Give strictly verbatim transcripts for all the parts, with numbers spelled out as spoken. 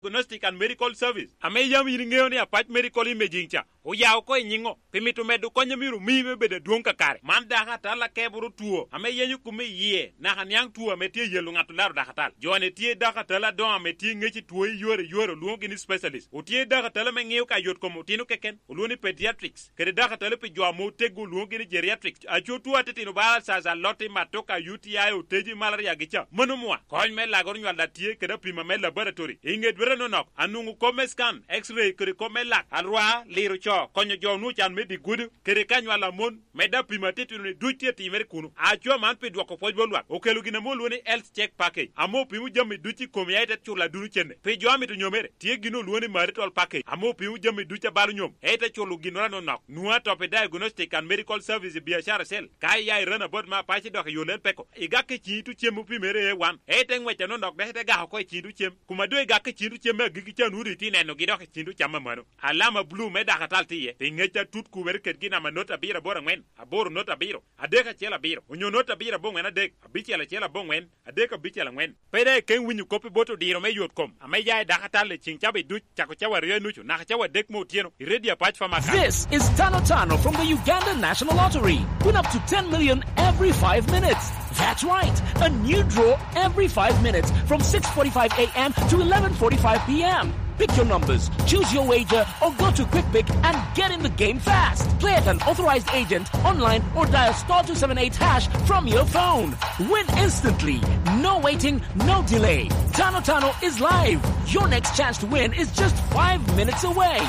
Diagnostic and Medical Service, ame yam in iŋeo ni Apac Medical Imaging ca oya oko i nyiŋo, pi mito medo kony a myero omii me bedo adwoŋ kakare. Man dako atal akeboro two ame yenyo kome i yie, naka niaŋ two ame tye yelo ŋat olaro dako atal. Jo-ni tye dako atal adoŋo ame tye ŋec i two i yore i yore, olwoŋogi ni specialist. Otye dako atal ame ŋeo ka yot kom otino keken, olwoŋo ni pediatrics. Kede dako atal pi jo ame oteggo, olwoŋogi ni geriatrics. Aco two atitino ba alsas, aloti, matoka, U T I, oteji, malaria gi ca. Mano mwa. Kony me lagoro nywal a tye kede apima me laboratory. I ŋe dwete nonok, anwoŋo kop me scan, X-ray kede kop me lak, alwa, liro co, konyo jo onwoŋo can me dye gudo, kede ka nywal a mon, medde apima atitino-ni duc tye timere kuno. Aco man pi dwoko pwoc bot lwak. Okelo gin ame olwoŋo ni health check package, ame opimo jami duc i kom ya ite culo aduno cene. Pi jo amito nyomere, tye gin olwoŋo ni marital package, ame opimo jami duc a balo nyom, ite culo ginnoro anonok. Nwoŋo atop i diagnostic and medical service i biacara cell. Ka iya i Ranabot ma Apac idok i Yolel Peko, igak i ciŋ itu cem opimere A one, ite ŋwec anonok dok ite gak oko i ciŋ itu cem. Kuma doŋ igak i ciŋ itu cem me agikki ca, nwoŋo doŋ itye nenogi dok i ciŋ itu cam amano. Alama bulu me dako atal tye iye, pi ŋec atut kubere kedgi namba not abiro aboro aŋwen, aboro not abiro, adek acel abiro, onyo not abiro aboŋwen adek, abicel acel aboŋwen, adek abicel aŋwen. Pe daŋ ikeŋ winyo kop i bot odiro me yot kom ame ya i dako atal i ciŋ cawa duc, cako cawa aryo i nucu naka cawa adek me otyeno, i Radio Apac Farmers. This is Tano Tano from the Uganda National Lottery. Win up to ten million every five minutes. That's right, a new draw every five minutes from six forty-five a m to eleven forty-five p m. Pick your numbers, choose your wager, or go to Quick Pick and get in the game fast. Play at an authorized agent, online, or dial star two seven eight hash from your phone. Win instantly. No waiting, no delay. Tano Tano is live. Your next chance to win is just five minutes away.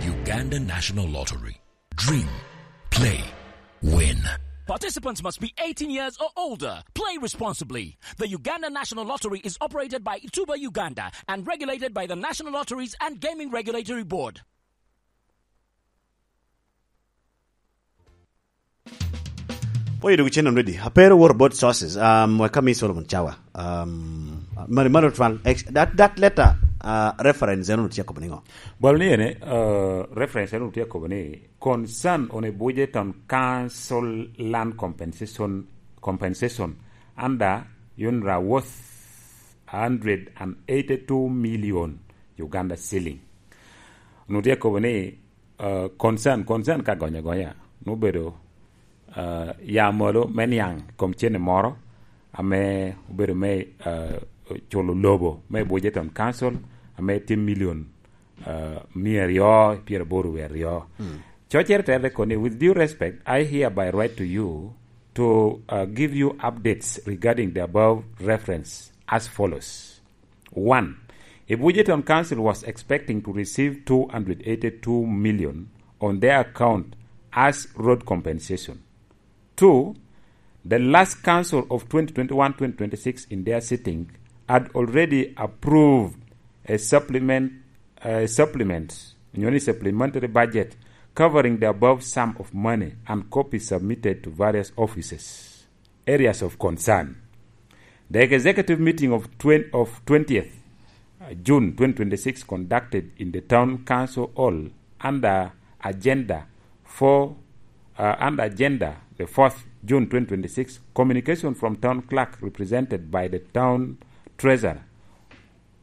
Uganda National Lottery. Dream, play, win. Participants must be eighteen years or older. Play responsibly. The Uganda National Lottery is operated by Ituba Uganda and regulated by the National Lotteries and Gaming Regulatory Board. Oye, dog channel ready. Apero, what about sources? Um, we come in Solomon Chawa. Um, mari, mari, twal. Ex-, that, that letter, uh, reference, eno tye kobo niŋo? Bal ni ene, uh, reference eno tye kobo ni concern on a budget on council land compensation, compensation under UNRA worth hundred and eighty-two million Uganda shilling. Onwoŋo tye kobo ni, uh, concern, concern ka gonyo agonya, nwoŋo bedo, uh, ya malo me niaŋ kom cene moro ame obedo me, uh, culo lobo me Budget on Council ame tye million, uh, mia aryo pyeraboro wie aryo. Mm. Cocere tere kono ni, with due respect, I hereby write to you to, uh, give you updates regarding the above reference as follows. One, a budget on council was expecting to receive two hundred eighty-two million on their account as road compensation. Two, the last council of twenty twenty-one twenty twenty-six in their sitting had already approved a supplement, a supplement, you know, supplementary budget covering the above sum of money and copies submitted to various offices. Areas of concern. The executive meeting of twen-, of twentieth, uh, June twenty twenty-six conducted in the town council hall under agenda for, uh, under agenda the fourth June twenty twenty-six, communication from town clerk represented by the town treasurer.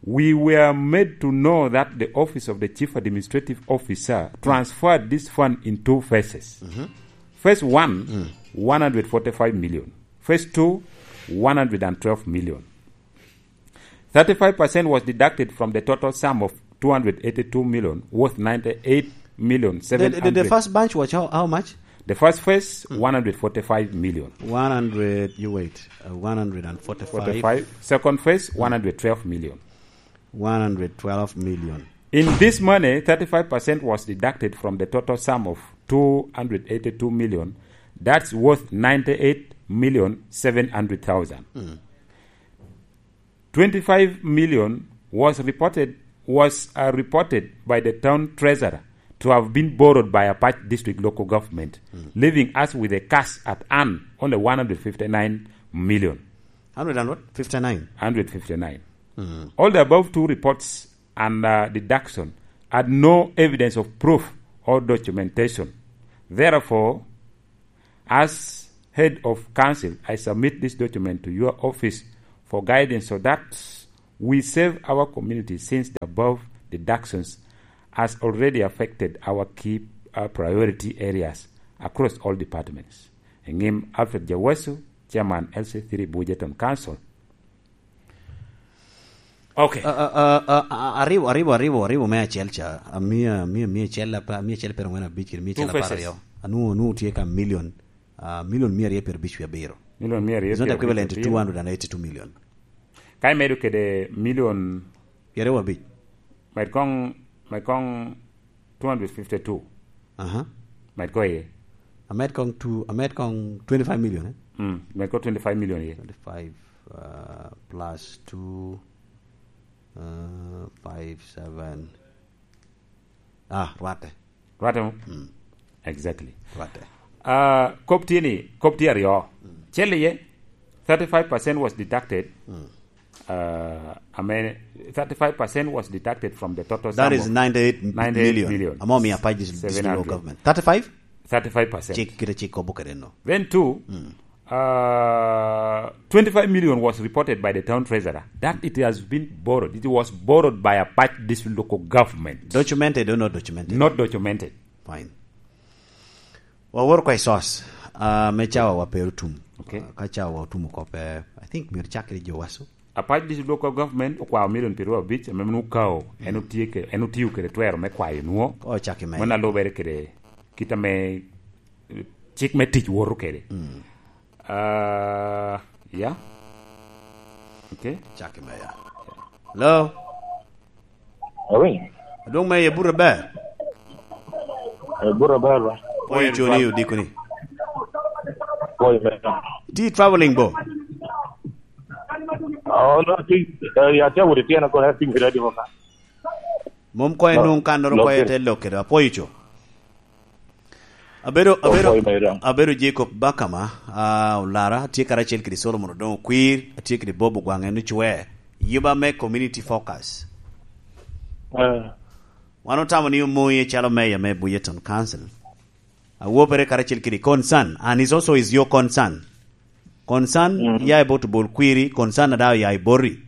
We were made to know that the office of the Chief Administrative Officer transferred this fund in two phases. Mm-hmm. Phase one, mm, one hundred forty-five million. Phase two, one hundred and twelve million. Thirty-five percent was deducted from the total sum of two hundred eighty-two million, worth ninety-eight million seven hundred. The, the, the first bunch was how, how much? The first phase, mm, one hundred forty-five million. One hundred, you wait, uh, one hundred forty-five. Forty-five. Second phase, mm, one hundred twelve million. One hundred twelve million. In this money, thirty-five percent was deducted from the total sum of two hundred eighty-two million. That's worth ninety-eight million seven hundred thousand. Mm. Twenty-five million was reported, was, uh, reported by the town treasurer to have been borrowed by Apac District Local Government, mm, leaving us with a cash at hand only one hundred fifty-nine million. Hundred and what? Fifty-nine? Hundred fifty-nine. Mm. All the above two reports and, uh, deduction had no evidence of proof or documentation. Therefore, as head of council, I submit this document to your office for guidance so that We save our community since the above deductions has already affected our key, uh, priority areas across all departments. Eŋim Alfred Jawasu, Chairman L C three Bujeton Council. Okay. Uh, uh, uh, uh, uh, aribo, aribo, aribo, aribo me acel ca. Uh, mia, mia, mia acel apa, mia acel pero ngwen abic, kede mia acel apar aryo. Anu, anu tye ka million, uh, million mia aryo pero bic abiro. Million mia aryo. It's not equivalent to two hundred and eighty-two million. Ka imedo kede million pyeraryo abic. Med kong, med kong two hundred fifty-two. Aha. Med ko iye. Amed kong two, amed kong twenty-five million, eh? Mm, med ko twenty-five million iye. Twenty-five, uh, plus two, uh, five, seven. Ah, rwatte. Rwatte mo? Mm. Exactly. Rwatte. Uh, kop tye ni, kop tye aryo. Mm. Cel iye, thirty-five percent was deducted. Mm. Uh, I mean, thirty-five percent was deducted from the total sum of ninety-eight million. That is ninety-eight million. Amo mi apac dis-, district government. Thirty-five? Thirty-five percent. Cik, kite cik kobo kede no. Then two, mm, uh, twenty-five million was reported by the town treasurer that it has been borrowed. It was borrowed by Apac District Local Government. Documented or not documented? Not documented. Fine. Wawor kwa i source, ah, me cawa wa pe otum. Okay. Ah, ka cawa wa otum oko pe, I think myero cak kede Jowaso. Apac District Local Government okwao milion pyeraryo abic, ame mano okawo, en otye ke-, en otiyo kede twero me kwayo nwo. Ocak i me. Mano alubere kede kit ame, eh, cik me tic woto kede. Mm. Ah, yeah. Okay. Cak i me, yeah. Hello? Awiny. Adwoŋ me ye burre ber. Eh, burre ber ba. Pwoyo coni odiko ni. Pwoyo me. Ti traveling bo? Oh, no, ti, eh, ya te wudi tiena kono, ya ting kede di mo ka. Mom koyo nung kannoro koyo te lok kede. Apwoyo co. Abedo, abedo, abedo Jacob Bakama, ah, Olara, atye karacel kede Solomon Odongo Kwir, atye kede Bob Ogwaŋ en ocwer. Yuba me Community Focus. Eh. Wan otamo ni omoye calo mayor me Buyeton Council. Awopere karacel kede concern, and is also is your concern. Concern, mm, ya i bot Obol Kwiri, concern ada oya i boti.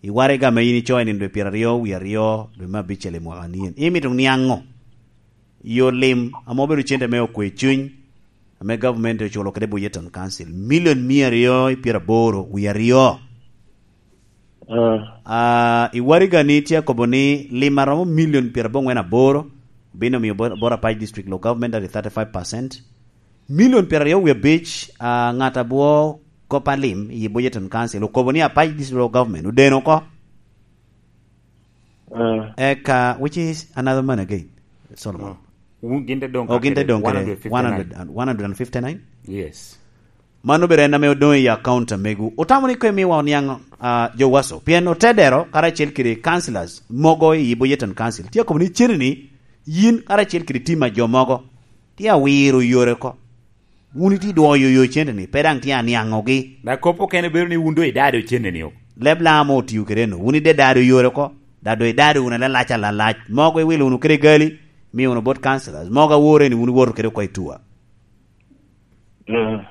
I waraga ame in icoyo ni dwe pyeraryo wie aryo, dwe me abicel i mwaka nien. Imito niaŋo? Yo lim, ame obedo cente me okwe cuny, ame gavumenti oculo kede Buyeton Council, milion mia aryo i pyeraboro wie aryo. Ah. Ah, i waraga ni tye akobo ni lim aromo milion pyerabongwen aboro, obino miyo Bo-, Bor Apac District Local Government at thirty-five percent. Milion pyeraryo wie abic, ah, ŋat abwo kop a lim i Bujeton Council okobo ni Apac District Local Government odeno oko. Ah. Eka, which is another man again, Solomon. Oh. Wun gin te doŋ Oh, gin te kede doŋ kede one hundred fifty-nine. One hundred, one hundred fifty-nine? Yes. Mano bene en ame odoŋ i account a megu. Otamo ni koŋ imiwa oniaŋ, ah, Jowaso, pien otedero karacel kede councillors mogo i Bujeton Council. Tye akobo ni cene ni yin karacel kede tim a jo mogo tye awiro yore oko. Wun itye idwoyo yo cente ni, pe daŋ tye aniaŋogi. Dok kop okene bedo ni wun doŋ idado cente ni o. Leb Laam otio kede no, wun ide dado yore oko, dado idado wunu alalac alalac. Mogo iwilo wunu kede gali, mio wunu bot councillors. Mogo awore ni wun iwoto kede oko i tua. Mm.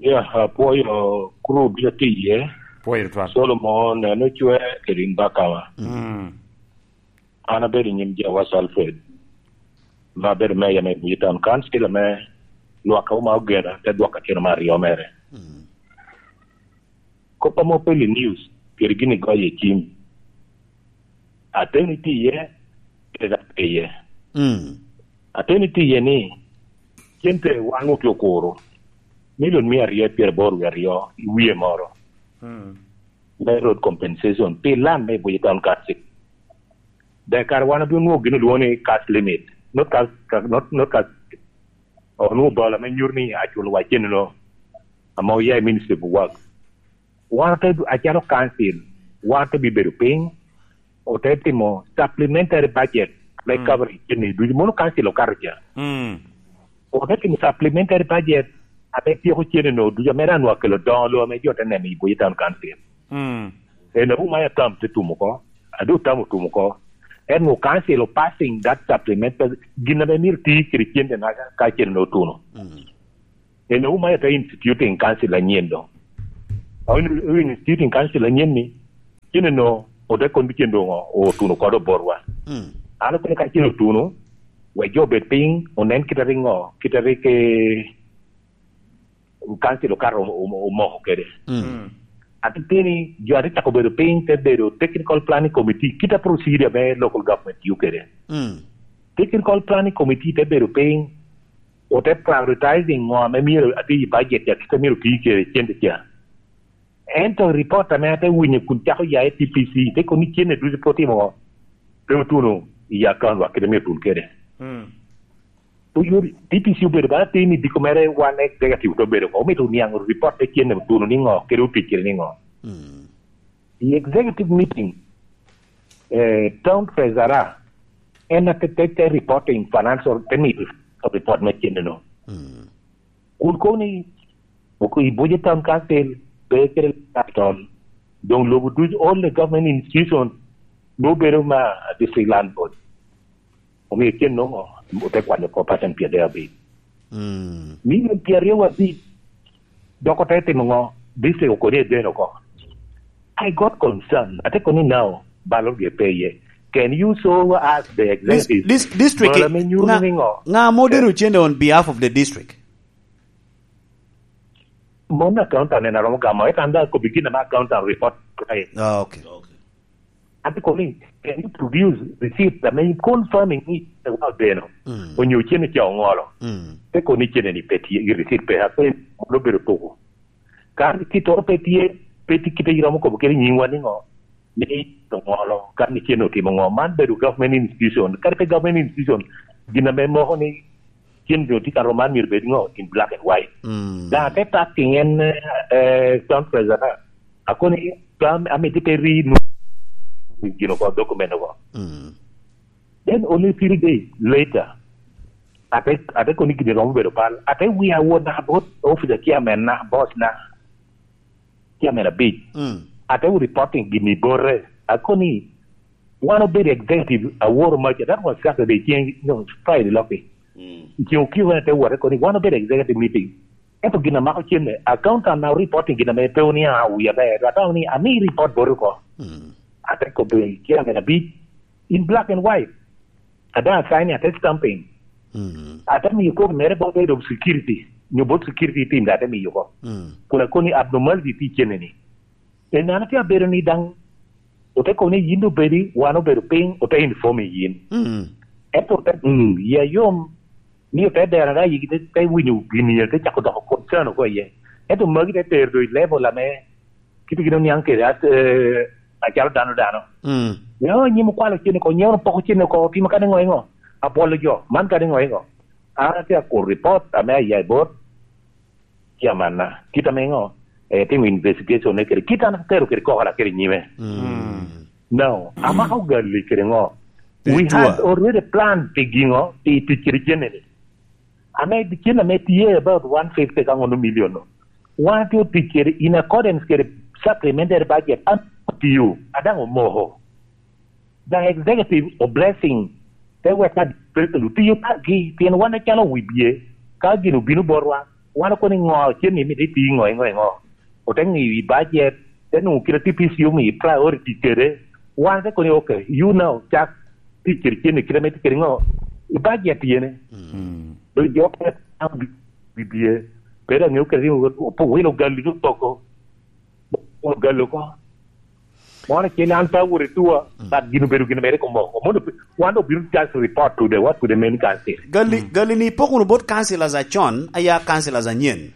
Ya, apwoyo group a tye iye. Pwoyo tutwal. Solomon, en ocwe kede in Bakama. Mm. An abedo i nyim Jawas Alfred, ma abedo meya me Buye Town Council, ame lwak a Uma Ogena te dwoko acel me aryo mere. Mm. Kop ame opelli news, kede gin igoyo i cim. Ateni tye iye, kede dok pe iye. Mm. Ateni tye iye ni, cente wan otye okuro, milion mia aryo pyeraboro wie aryo i wie moro. Mm. Me road compensation, pi land me Buye Town Council. Dek kare wan obino nwoŋo gin olwoŋo ni cash limit, not cash, not, not cash, onwoŋo bal ame nyuto ni aculo wa cen-no ame oya i Ministry of Works. Wan ote, acalo council, wan ote bibedo piny, ote timo supplementary budget me, mm, coverage cen-ni ducu. Mono council okato ca. Mm. Ote timo supplementary budget ame tyeko cen-ni ducu, ame dano akelo doŋo lobo ame jo te neno i Buye Town Council. Mm. En auma ya tam te tum oko, adu tam otum oko. En wo council o passing that supplement, gin ame myero ti kede cente na ka cente otuno. Mm. En auma ya te instituting council anyen doŋ. Owinyo, owinyo Student Council anyen ni, cene no, ote kono cen doŋ o-, otuno kode oborwa. Mm. An okono ka cen otuno, wek jo obed piny, onen kite ringo, kite rik, eh, council okato o-, o-, omoko kede. Mm. Mm. Ate tye ni, jo ate cako bedo piny, te bedo technical planning committee, kita procedure me local government tiyo kede. Mm. Technical planning committee te bedo piny, ote prioritizing ŋo ame myero ati i budget ya, kit a myero oti kede cente ca. Ento report ame ate winyo kun cako ya i T P C, te kono ni cene ducu pe otimo ŋo, pe otuno i account wa kit a myero otun kede. Mm. Oyudi, T P C obedo bala tin i diko mere wan executive te obedo ko, omito niaŋ report te cene otuno ni ŋo, kede otic kede ni ŋo. Mm. I executive meeting, eh, town treasurer, en a te, te, te reporting financial, te mito report me cene no. Mm. Kun kono ni, oko i Buja Town Council, pe kede capital, doŋ lobo duc, all the government institution, doŋ bedo ma district land board. Omio cen noŋo, ote kwanyo oko percent pyeradek abic. Mm. Milion pyeraryo abic, dok ote timo ŋo? District okoni eden oko. I got concern. Ate kono ni now, balo ge pe iye. Can you show us the Dis-, executive? Dis-, district, balo me nyuto nga-, ni ŋo? Nga modero cende on behalf of the district? Mon accountant en aromo gamo, ento an daŋ akobbi gin ame accountant report. Ah, okay. Okay. Ate kono ni, can you produce receipt ame confirming ni wa odeno? Mm. Onyo cene ca oŋolo? Mm. Te kono ni cene ni pe tye, i receipt pe, ape mono obedo tuko. Ka receipt oro pe tye, pe tye kite iromo kobo kede nyingwa ni ŋo? Ni oŋolo, ka ni cene otimo ŋo? Man bedo government institution. Kadi pe government institution, gin ame moko ni cen jo tye ka romo man myero bed ŋo? In black and white. Mm. Daŋ ate tak i en, eh, town treasurer, akono ni, "Tam, amito pe ri nu-, gin oko, document oko." Mm. Then only three days later, ate, ate kono ni gin romo bedo bal. Ate wia wot naka bot officer chairman na, boss na. Chairman abic. Mm. Ate wo reporting gini bote. Akoni, wan obedo executive aworo maca. That was Saturday, ceng, no, Friday loki. Mm. Ceng okiko wan ate wote koni, wan obedo executive meeting. Ento gin amako cenne, accountant na reporting gin ame pe oni a wi aber. Atamo ni, ami report bote oko. Mm. Ate kobe chairman abic, in black and white. Ada assign ate stamping. Mm. Ate miyo copy mere bot head of security, nyo bot security team da ate miyo ko. Mm. Kun akoni abnormality tye cene ni. En an atye abedo ni daŋ, ote kono ni yin obedi, wan obedo piny, ote inform i yin. Mm. Ento ote, mm, ya yom, ni ote dero da yigi te, te winyo gini, te cako doko concern oko iye. Ento magi te tero do i level ame kit gin oniaŋ kede, at-, eh, acalo dano dano. Mm. Nyo nyim okwalo cene ko, nyo poko cene ko, otimo kadi ŋo i ŋo? Abwolo jo, man kadi ŋo i ŋo? An atye akuro report ame aya i bot chairman na. Kit ame ŋo? Eh, timo investigation ne kede. Kit an atero kede koko na kede nyime. Mm. Now, amako gali kede ŋo? We had already planned pi giŋo? Pi tic kede cene ni. Ame cen ame tye about one fifty ka ŋono million no. Wan atye otic kede in accordance kede supplementary budget, an otiyo, adaŋ omoko. The executive of blessing, te wek ka president otiyo kargi, pien wan acalo wi bye, ka gin obino botwa, wan okono i ŋo cen ni mito iti ŋo, i ŋo, i ŋo. Ote ŋiyo i budget, te nwoŋo kite T P C omio priority kede. Wan te kono, "Okay, you now, cak tic kede cen ni kite ame tye kede ŋo? I budget yene." Mm. Doŋ jo okene tam bi-, bibye. Pe dok ŋeo kede ni opo wilo gali ni opoko. Wilo gali oko. Mono acel an pe awot i tua, mm, but gin obedo gin mere komoko. Mono wan obino just report to the, what, to the main council. Gali, mm, gali ni ipoko wunu bot councillors acon, aya councillors anyen.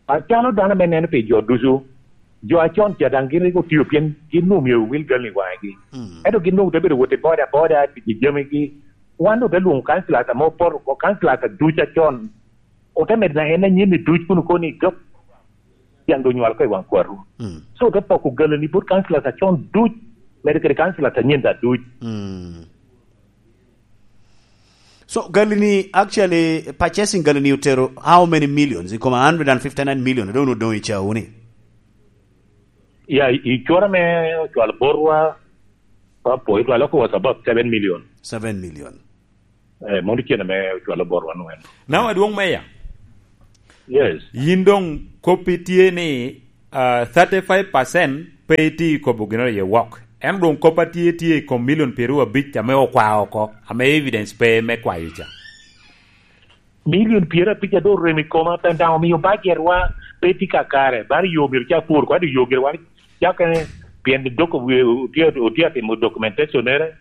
Acalo dano ame neno pi jo ducu, jo acon ca daŋ gin rik otio pien gin onwoŋo myero owil gal i waŋgi. Mm. Ento gin onwoŋo te bedo wot i boda boda, tic i jamigi. Wan ote lwoŋo councillors ame opoto oko, councillors ducu acon. Ote medo na en anyen i duc kun okobo ni, "Dok, tyen doŋ nywal oko i waŋ kwatu." Mm. So, ote poko galani bot councillors acon duc, medo kede councillors anyen da duc. Mm. So, galani, actually, purchasing galani otero how many millions? I kom a hundred and fifty-nine million, I don't know, doŋ i cawu ni. Ya, i, i cura me ocwalo botwa, pa po, it was about seven million. Seven million. Eh, mono cene me ocwalo botwa nwen. Now, adwoŋ meya. Yes. Yin doŋ koppi tye ni, ah, thirty-five percent pe itye i kobo ginnoro iye wok. En doŋ kop a tye, tye i kom milion pyeraryo abic ame okwa oko, ame evidence pe me kwayo ca. Milion pyeraryo abic a doŋ orem i koma, pe daŋ omio bajetwa pe tye kakare. Bano yo myero ca pur, kwado yo gire wan cakene, pien dok otye, otye atimo documentation-nere.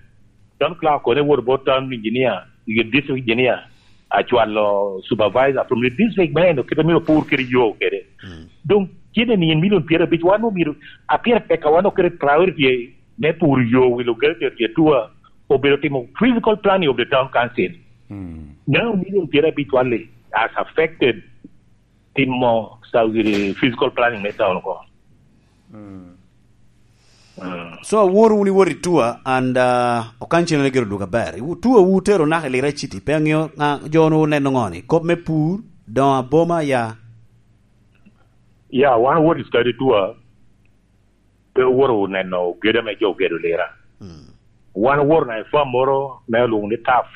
Town clerk okone wot bot town engineer, i district engineer, acwalo supervisor from the district me eno kite myero opur kede yo kede. Mm. Doŋ cene ni en milion pyeraryo abic, wan omyero, a pire tek a wan okete priority me puro yo wi locality area two, obedo timo physical planning of the town council. Mm. Now, million pyeraryo abic wally has affected timo sa-, physical planning me town ko. Mm. Mm. So, awor wun iwot i tour, and, uh, okan cene gero dwogo aber. Iwu-, tour wu tero naka i Lira City, pe aŋeo ŋa-, jo nu oneno ŋo ni? Kop me pur, doŋ aboma ya? Ya, wan wot i study tour. Pe owoto neno gedo ame jo ogedo Lira. Mm. Wan owoto neno i farm moro me olwoŋo ni Taf,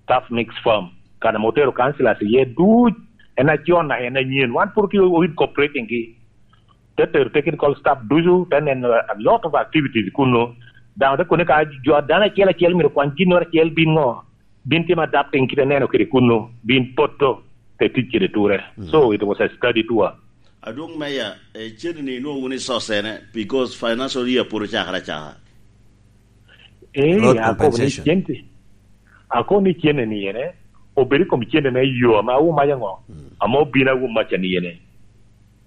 Taf Mix Farm. Kan ame otero councillors iye duc, en acon naka en anyen. Wan pwod otye o incorporating gi. Te tero technical staff ducu, te neno a lot of activities kuno. Daŋ te koni ka jo, dano acel acel myero okwany ginnoro acel, bin ŋo? Bin timo adapting kite neno kede kuno, bin poto te tic kede ture. Mm. So it was a study tour. Adwoŋ Meya, eh, cene ni inwoŋo wunu i source ene, because financial year pwod ocakere acaka. Eh, Road akobo ni compensation. Cente. Akobo ni cene ni ene, obedo i kom cene me yo ame awumaca ŋo? Mm. Ame obino awumaca ni ene.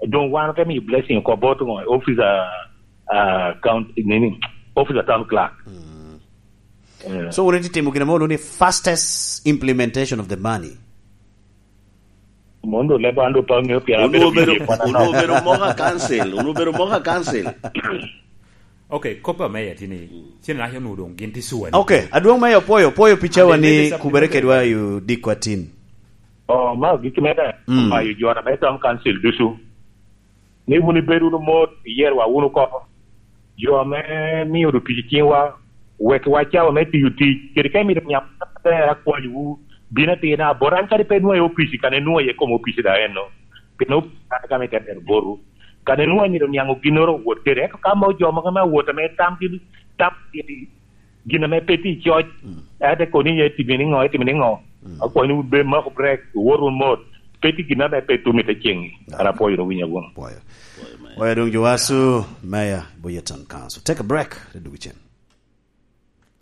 Doŋ wan ote miyo blessing oko bot ŋo? Office, ah, ah, count-, nini? Office of town clerk. Mm. Eh. So, wun itye timo gin ame olwoŋo ni fastest implementation of the money. Mondo leba ando pa ŋeo pien abedo obedo, busy kwana wun no. Obedo moka council, wun obedo moka council. Ok, kop a meya tye ni, cen naca onwoŋo doŋ gin tye suwa ni. Ok, adwoŋ meya opwoyo, opwoyo pi cawa ni kubere kedwa i odikwa tin. Oh, ma gik mene, mm, omayo jo na me town council ducu. Ni wun ibed wunu mot, iyer wa wunu oko. Jo ame mio otic i ciŋwa, wek wa cawa me tiyo tic, kede ka imito niaŋ aber akwanyowu, bin atirna bot an kadi pe nwoŋo i opici, kan inwoŋo iye i kom opici daŋ enno. Pien opici an ka me te bero botwu. Kan inwoŋo imito niaŋ ginnoro owot kede, ento ka mo jo mogo ame awot ame tamgi, tam gin ame pe tye i coc, mm, ate koni iye itimo niŋo, itimo niŋo? Mm. Akwayo ni wun be mako brek, wot wun mot. Pe tye gin ame pe tum i te ceŋ-ŋi. Ah. An apwoyo wunu, winyo wunu. Pwoyo. Pwoyo, Meya. Pwoyo doŋ Jowacu, Meya, Boyertown Council. Take a break, te dwogo cen.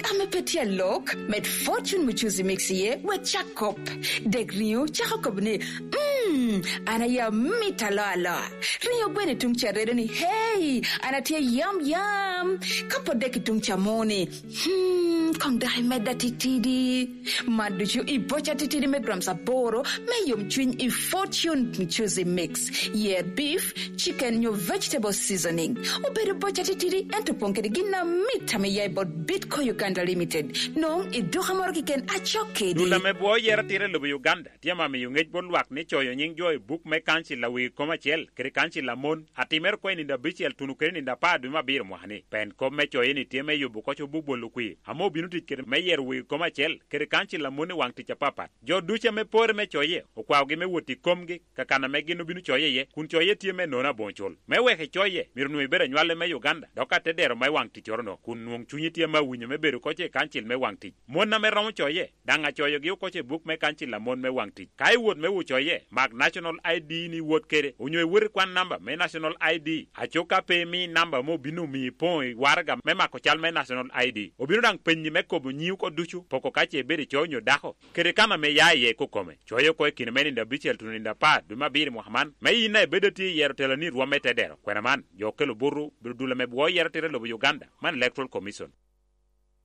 Ame pe tye alok, med Fortune Mchuzi Mix iye, wek cak kop. Dek riŋo, cako kop ni, "Mm, an aye amit alo alo." Riŋo gweno i tuŋ ca redo ni, "Hey, an atye yam yam." Ka pwod dek i tuŋ ca mo ni, Hmm, koŋ dok imedda titidi. Mad ducu i boca titidi me grams aboro me yomcwiny i Fortune Mchuzi Mix. Yer beef, chicken nyo vegetable seasoning. Obedo boca titidi, ento opoŋ kede gin amit ame ya i bot Bitco Uganda Limited. Nwoŋo i duka moro keken acok kedi. Dul ame bwo yero atira i lobo Uganda tye ame miyo ŋec bot lwak ni coyo nyiŋ jo i buk me kancil a wegi kom acel kede kancil a mon, atimere oko i nino abicel tuno kede nino apar dwe me abiro mwaka-ni. Pien kop me coye-ni tye me yubo oko cobo bolo kwir, ame obino tic kede me yero wegi kom acel kede kancil a mon i waŋ tic apapat. Jo ducu ame pore me coye, okwaogi me wot i komgi, ka kan ame gin obino coye iye, kun coye tye me nono aboŋo cul. Me wek icoye, myero onwoŋo ibedo anywale me Uganda, dok atedero me waŋ ticcoro-no, kun nwoŋo cunyi tye ame awinyo me bedo oko i kancil me waŋ tic. Mon ame romo coye, daŋ acoyogi oko i buk me kancil a mon me waŋ tic. Ka iwot me wucoye, mak National I D ni iwot kede, onyo iwot ikwan namba me National I D. Aco ka pe imi namba ame obino omiyo ipoŋo i waraga me mako cal me National I D. Obino daŋ penyi me kobo nyiŋi oko ducu, poko ka ce ibedo ico onyo dako, kede kan ame ia iye kokome. Coye oko i kine me nino abicel tuno nino apar dwe me abiro i mwaka man, me in a ibedo atye i yero teloni i rwom me tedero. Kwena man, jo okelo botwu, bedo dul ame bwo yero tira i lobo Uganda, man Electoral Commission.